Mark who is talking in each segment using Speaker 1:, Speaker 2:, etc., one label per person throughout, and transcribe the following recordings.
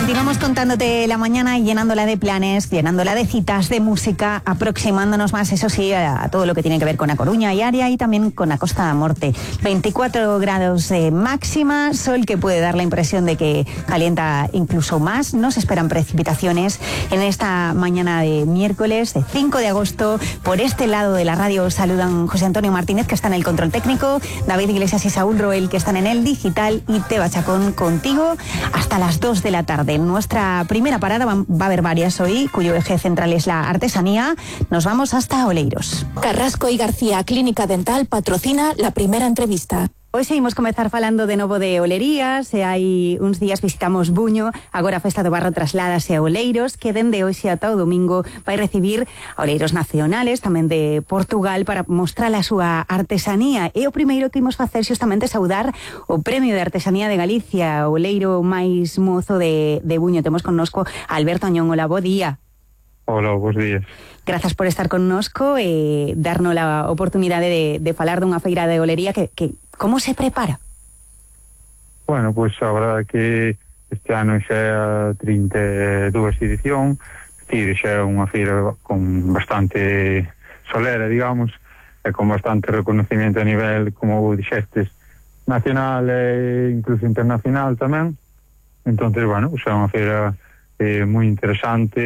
Speaker 1: Continuamos contándote la mañana y llenándola de planes, llenándola de citas, de música, aproximándonos más, eso sí, a todo lo que tiene que ver con A Coruña y área y también con la Costa da Morte. 24 grados máxima, sol que puede dar la impresión de que calienta incluso más. No se esperan precipitaciones en esta mañana de miércoles, de 5 de agosto. Por este lado de la radio saludan José Antonio Martínez, que está en el control técnico, David Iglesias y Saúl Roel, que están en el digital, y Teba Chacón contigo hasta las 2 de la tarde. En nuestra primera parada va a haber varias hoy, cuyo eje central es la artesanía. Nos vamos hasta Oleiros.
Speaker 2: Carrasco y García Clínica Dental patrocina la primera entrevista.
Speaker 1: Hoy seguimos comezar falando de novo de olerías, e hai uns días visitamos Buño, agora a Festa do Barro trasládase a Oleiros, que dende hoxe ata o domingo vai recibir a oleiros nacionales, tamén de Portugal, para mostrar a súa artesanía. E o primeiro que imos facer xustamente é saudar o Premio de Artesanía de Galicia, o oleiro máis mozo de Buño. Temos connosco a Alberto Añón. Hola, bo día.
Speaker 3: Hola, bons días.
Speaker 1: Grazas por estar connosco e darnos a oportunidade de falar dunha feira de olería que como se prepara?
Speaker 3: Bueno, pois a verdade é que este ano xa é a 32 edición, xa é unha feira con bastante solera, digamos, e con bastante reconocimiento a nivel, como dixestes, nacional e incluso internacional tamén. Entonces, bueno, xa é unha feira moi interesante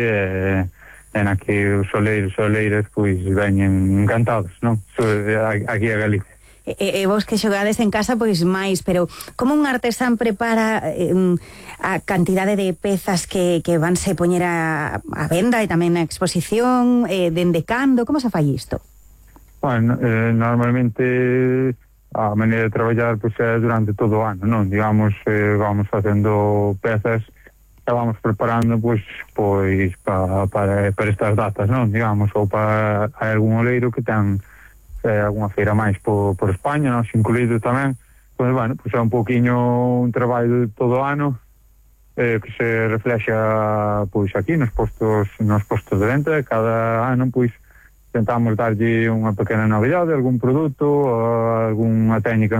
Speaker 3: e na que os oleiros e oleiras pois veñen encantados, non? Aquí a Galicia.
Speaker 1: E vos que xogades en casa, pois máis, pero como un artesán prepara a cantidade de pezas que vanse poñer a venda e tamén a exposición, dende cando, como se fai isto?
Speaker 3: Bueno, normalmente a maneira de traballar pois é durante todo o ano, non? Digamos, vamos facendo pezas e vamos preparando pois para estas datas, non? Digamos, ou para algún oleiro que ten alguna feira máis por España, nos incluído tamén. Pois, bueno, pois é un pouquiño un traballo de todo o ano que se reflexa pois aquí nos postos de venta. Cada ano pois tentamos darlle unha pequena novidade, algún produto, algunha técnica